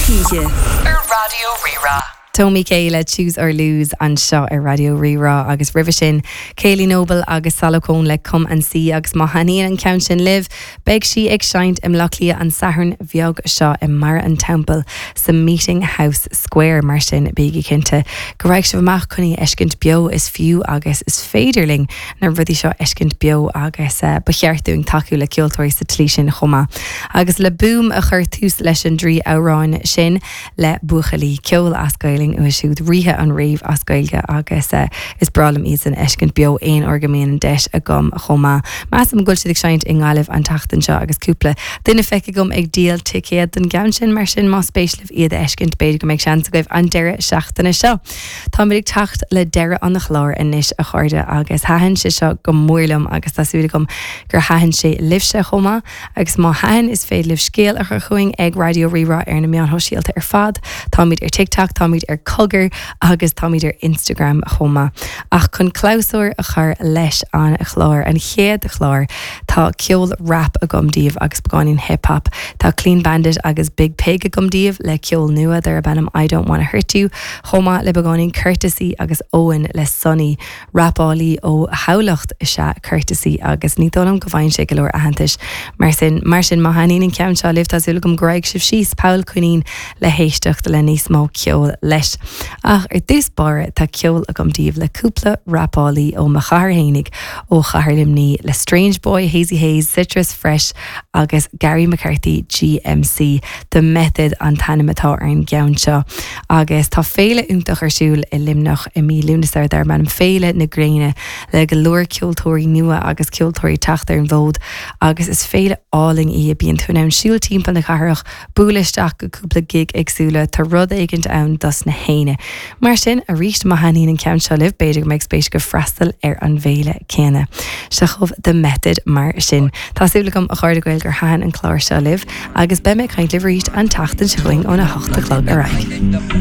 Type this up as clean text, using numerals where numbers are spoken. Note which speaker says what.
Speaker 1: hOíche ar Raidió Rí-Rá.
Speaker 2: Tomi Kay le Choose or Lose anseo ar Raidió Rí-Rá agus roimhe sin Kayleigh Noble agus Salocón le Come and See agus má thaitníonn an ceann sin libh beidh sí ag seinnt i mBleá Cliath an Satharn bheag seo i mBarra an Teampaill sa Meeting House Square mar sin bígí cinnte go raghaidh sibh amach chun í a fheiscint beo is fiú agus is féidir linn na rudaí seo a fheiscint beo agus ba cheart dúinn tacú le ceoltóirí sa tslí sin chomh maith. Agus le Boom a chur tús leis an dtrí amhrán sin le buachaillí ceoil as Gaelainn uathu siúd, ríthe an rave as Gaeilge agus is breá liom iadsan a fheiscint beo aon uair go mbíonn an deis agam chomh maith. Measaim go bhfuil siad ag seinnt i nGaillimh an tseachtain seo agus cúpla duine feicthe agam ag díol ticéad don gceann sin mar sin más spéis libh iad a fheiscint b'fhéidir go mbeidh seans agaibh an deireadh seachtaine seo. Táimid ag teacht le deireadh an chláir anois, a chairde, agus thaitin sé seo go mór liom agus tá súil agam gur thaitin sé libhse chomh maith. Agus má thaitin, is féidir libh scéal a chur chugainn ag Raidió Rí-Rá ar na meáin shóisialta ar fad. Táimid ar TikTok, táimid ar Cogar agus táimid ar Instagram chomh maith. Ach chun clabhsúr a chur leis an chlár, an chéad chlár, tá ceol rap agam daoibh agus beagáinín hip hop. Tá Clean Bandit agus Biig Piig agam daoibh le ceol nua darb ainm I Don't Wanna Hurt You. Chomh maith le beagáinín Curtesy agus Eoin le Sonny, rapálaí ó Thamhlacht is ea Curtesy agus ní dóigh liom go bhfaigheann sé go leor aitheantais mar sin. Mar sin, má thaitníonn an ceann seo libh, tá súil agam go raghaidh sibh síos Poll Coinín le héisteacht le níos mó ceoil leis. Ach ar dtús báire, tá ceol agam daoibh le cúpla rapálaí ó mo chathair fhéinig, ó chathair Luimní, le Strange Boy, Hazy Haze, Citrus Fresh agus Gary McCarthy GMC. The Method an t-ainm atá ar an gceann seo agus tá féile iontach ar siúl i Luimneach i mí Lúnasa darb ainm Féile na Gréine le go leor ceoltóirí nua agus ceoltóirí teacht ar an bhfód agus is féile álainn í, bíonn tú in ann siúl timpeall na cathrach, bualadh isteach go cúpla gig éagsúla, tá rud éigint ann dos na héinne. Mar sin, arís, má thaitníonn an ceann seo libh, b'fhéidir go mbeidh spéis agaibh freastal ar an bhféile céanna. Seo chugaibh The Method mar sin. Tá súil agam, a chairde Gael, gur thaitin an clár seo libh, agus beidh mé ag caint libh arís an tseachtain seo chugainn óna hocht a chlog ar aghaidh.